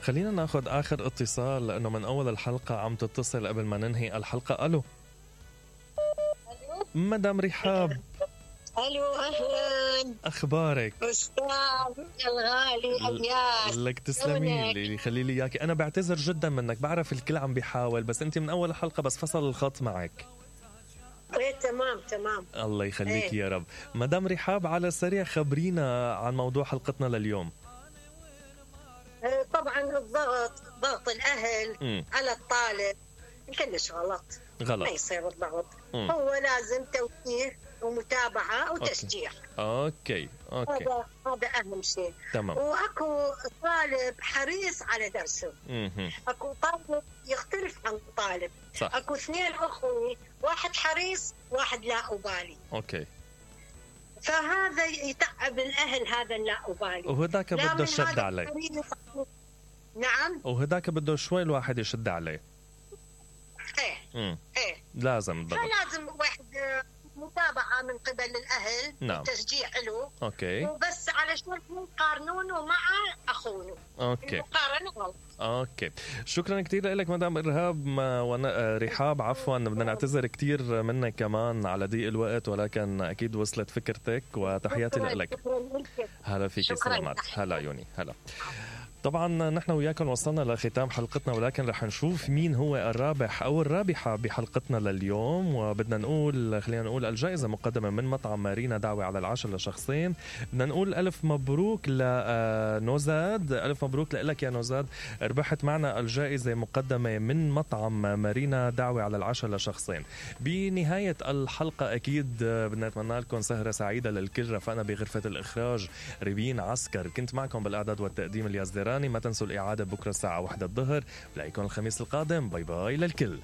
خلينا ناخد آخر اتصال لأنه من أول الحلقة عم تتصل قبل ما ننهي الحلقة. ألو مدام رحاب. الو اهلا، اخبارك؟ استاذ الغالي الياس. لك تسلمي لي، خلي لي اياكي. انا بعتذر جدا منك، بعرف الكل عم بيحاول، بس انت من اول الحلقه بس فصل الخط معك. ايه تمام. الله يخليك إيه. يا رب. مدام رحاب، على السريع خبرينا عن موضوع حلقتنا لليوم. طبعا ضغط الاهل على الطالب كلش غلط. ما يصير الضغط. هو لازم توجيه ومتابعة وتشجيع. أوكي. هذا أهم شيء. تمام. وأكو طالب حريص على درسه. أكو طالب يختلف عن طالب. صح. أكو اثنين أخوي، واحد حريص واحد لا أبالي. أوكي. فهذا يتعب الأهل، هذا اللا أبالي. وهداك بده يشد عليه. نعم. وهداك بده شوي الواحد يشد عليه. ايه لازم ضبط. فلازم واحد متابعة من قبل الأهل. نعم. وتشجيع له. أوكي. وبس علشان يقارنونه مع أخونه. أوكي. المقارنة غلط. اوكي، شكرا كثير لك مدام رحاب. عفوا بدنا نعتذر كثير منك كمان على ضيق الوقت، ولكن اكيد وصلت فكرتك، وتحياتي لك. هلا فيك، سلامات. هلا عيوني، هلا. طبعا نحن وياكم وصلنا لختام حلقتنا، ولكن رح نشوف مين هو الرابح أو الرابحة بحلقتنا لليوم. وبدنا نقول، خلينا نقول الجائزة مقدمة من مطعم مارينا، دعوة على العشاء لشخصين. بدنا نقول ألف مبروك لنوزاد، ألف مبروك لك يا نوزاد، ربحت معنا الجائزة مقدمة من مطعم مارينا، دعوة على العشاء لشخصين. بنهاية الحلقة أكيد بدنا نتمنى لكم سهرة سعيدة للكل. رفقنا بغرفة الإخراج ريبين عسكر، كنت معكم بالإعداد والتقديم الياس ديراني. ما تنسوا الإعادة بكرة الساعة 1 الظهر. بلاقيكم الخميس القادم. باي باي للكل.